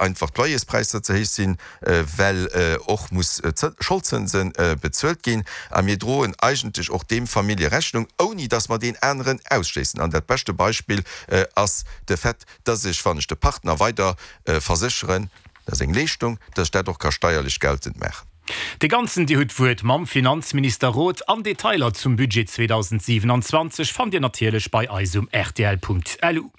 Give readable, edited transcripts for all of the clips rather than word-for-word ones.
einfach d'Loyerspräisser ze héich sinn, well och muss Scholdzënse bezuelt ginn. A mir droen eigentlech och deem Famillje Rechnung, ouni datt mer deen aneren ausschléissen. An dat beschte Beispill ass de Fait, datt ech, wann ech de Partner weider versécheren, dat ass eng Leeschtung, datt ech dat och ka steierlech geltend maachen. De ganzen Dir hutt d'Wuert mam Finanzminister Roth an Detailer zum Budget 2027 fannt Dir natierlech bei eis um rtl.lu.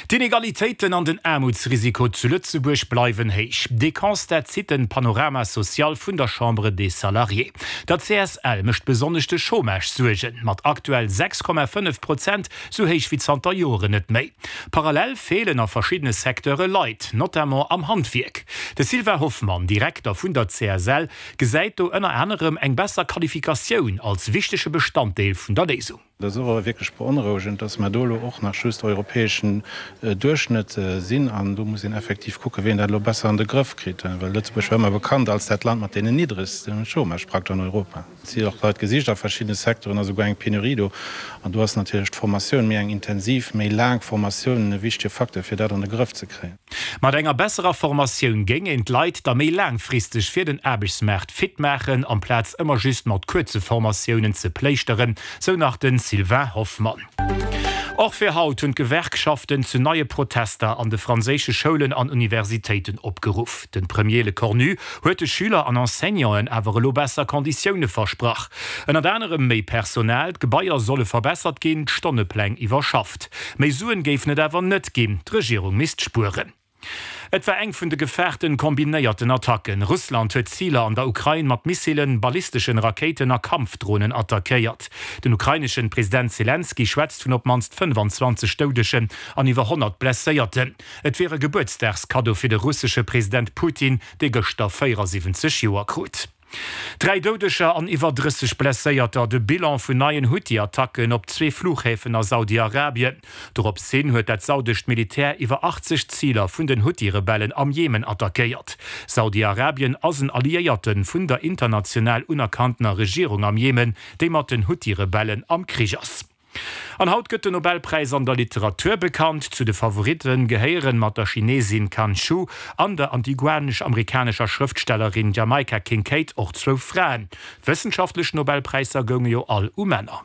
D'Inegalitéiten an den Aarmutsrisiko zu Lëtzebuerg bleiwen héich. Dee Constat zitt den Panorama social vun der Chambre des Salariés. Der CSL mécht besonnesch de Chômage Suergen, mat aktuell 6,5 Prozent, sou héich wéi zanter Joren net méi. Parallel feelen a verschiddene Secteure Leit, notamment am Handwierk. De Sylvain Hoffmann, Direkter vun der CSL, gesäit do ënner anerem eng besser Qualifikatioun als wichtege Bestanddeel vun der Léisung. Dat ass och wierklech beonrouegend, dass mer do elo och nach just europäeschen Duerchschnëtt sinn. An do muss een effektiv kucken, wéi een dat elo besser an de Grëff kritt, well Lëtzebuerg war ëmmer bekannt als dat Land mat deenen niddregste Chômage praktesch an Europa. Et si och Leit gesicht a verschiddene Secteuren, ass esouguer eng Penurie do. An do ass natierlech d'Formatioun, méi eng intensiv, méi laang Formatioun e wichtege Facteur, fir dat an de Grëff ze kréien. Mat enger besserer Formatioun géing een d'Leit da méi laangfristeg fir den Aarbechtsmaart fit maachen, amplaz ëmmer just mat kuerze Formatiounen ze pléischteren, sou nach de Sylvain Hoffmann. Och fir haut hunn d'Gewerkschaften zu neie Protester an de franséische Schoulen an Universitéiten opgeruff. De Premier Lecornu huet de Schüler an Enseignanten awer elo besser Konditioune versprach. Ënnert anerem méi Personal, d'Gebaier solle verbessert ginn, d'Stonnepläng iwwerschafft. Méi Suen géifen et awer net ginn, d'Regierung misst spueren. Et war eng vun de gefaarten kombinéierten Attacken. Russland huet Ziler an der Ukrain mat Missilen, ballisteschen Rakéiten a Kampfdronen attackéiert. Den ukraineschen President Selenskyj schwätzt vun op d'mannst 25 Doudegen an iwwer 100 Blesséierten. Et wier e Gebuertsdagskaddo fir de russesche President Putin, dee gëschter 74 Joer krut. Dräi Doudeger an iwwer 30 Blesséierter, de Bilan vun neien Huthi-Attacken op zwee Flughäfen a Saudi-Arabien. Dorops hin huet dat saudescht Militär iwwer 80 Ziler vun den Huthi-Rebellen am Jemen attackéiert. Saudi-Arabien ass en Alliéierte vun der international unerkanntener Regierung am Jemen, déi mat den Huthi-Rebellen am Krich ass. An haut gëtt den Nobelpräis an der Literatur bekannt. Zu de Favoritte gehéieren mat der Chinesin Kan Shu an der antiguanesch-amerikanescher Schrëftstellerin Jamaica Kincaid och zwou Fraen. D'wëssenschaftlech Nobelpräisser gounge jo all u Männer.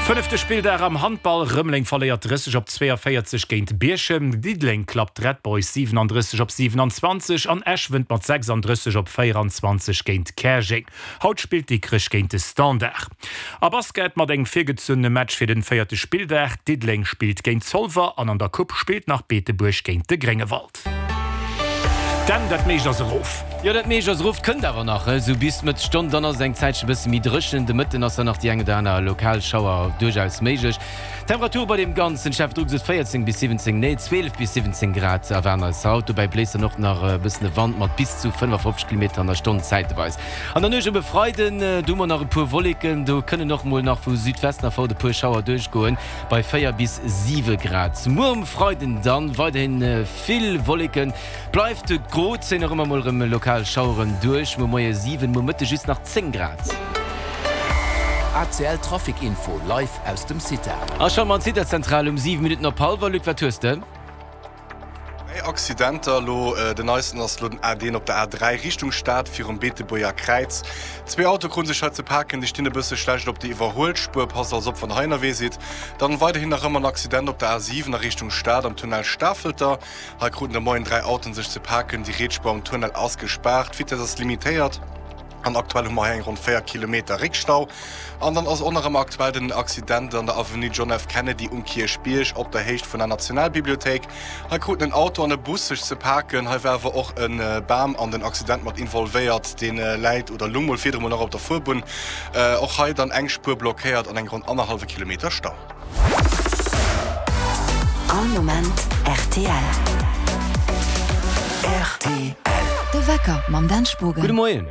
Fënnefte Spilldag am Handball, Rëmeleng verléiert 30 op 42 géint Bierchem, Diddeleng klappt d'Red Boys 37 op 27 an Esch wënnt mat 36 op 24 géint Käerjeng. Haut spillt Dikrech géint de Standard. A Basket mat engem virgezunnene Match fir den véierte Spilldag. Diddeleng spillt géint Zolwer an an der Coupe spillt nach Beetebuerg géint de Gréngewald. Dan, dat meescht ass erof. Jo, dat meescht ass erof. 't kënnt awer nach esou bis Mëtt Stonn, dann ass et eng Zäitche bësse méi dréchen. De Mëtten ass dann nach déi eng oder aner lokal Schauer duerchaus méiglech. Temperature bei deem ganzen Chef Druck esou 14 bis 17, nee 12 bis 17 Grad erwaarden eis haut. Dobäi bléist dann och nach e bëssen e Wand mat bis zu 55 Kilometer an der Stonn zäiteweis. An der Nuecht op e Freiden, do hu mer nach e puer Wolleken, do kënnen och mol nach vu Südwesten erfort e puer Schauer duerchgoen, bei 4 bis 7 Grad. Muer um Freiden dann weiderhin vill Wolleken, bleift gro, zéien och ëmmer mol erëm lokal Schaueren duerch. Muer Moie 7, muer Mëtte just nach 10 Grad. ACL Trafic Info live aus dem CITA. A scho mat Cita-Zentral um 7 Minutten op hallwer. Luc, wat hues de? Dräi Accidenter elo, den neisten ass elo den A1 op der A3 Richtung Stad virum Beetebuerger Kräiz. Zwee Autoe krute sech hei ze paken, déi stinn e bësse schlecht op der Iwwerhuelspuer. Passt also op wann der hei ënnerwee sidd. Dann weiderhin nach ëmmer en Accident op der A7 a Richtung Stad am Tunnel Stafelter. Hei kruten de Moien 3 Autoen sech ze paken, déi riets Spuer am Tunnel ass gespaart, d'Vitess ass limitéiert. An aktuell hu mer hei eng ronn 4 Kilometer Réckstau. An dann ass och nach ëmmer aktuell den Accident an der Avenue John F. Kennedy um Kierchbierg op der Héicht vun der Nationalbibliothéik. Hei kruten en Auto an e Bus sech ze paken. Hei war awer och e Bam an den Accident mat involvéiert. Dee läit oder lung mol virdru mol nach op der Fuerbunn. Och hei dann eng Spuer blockéiert an eng ronn annerhallwe Kilometer Stau. All Moment rtl. Rtl. De Wecker mam Dan Spogen. Gudde Moien.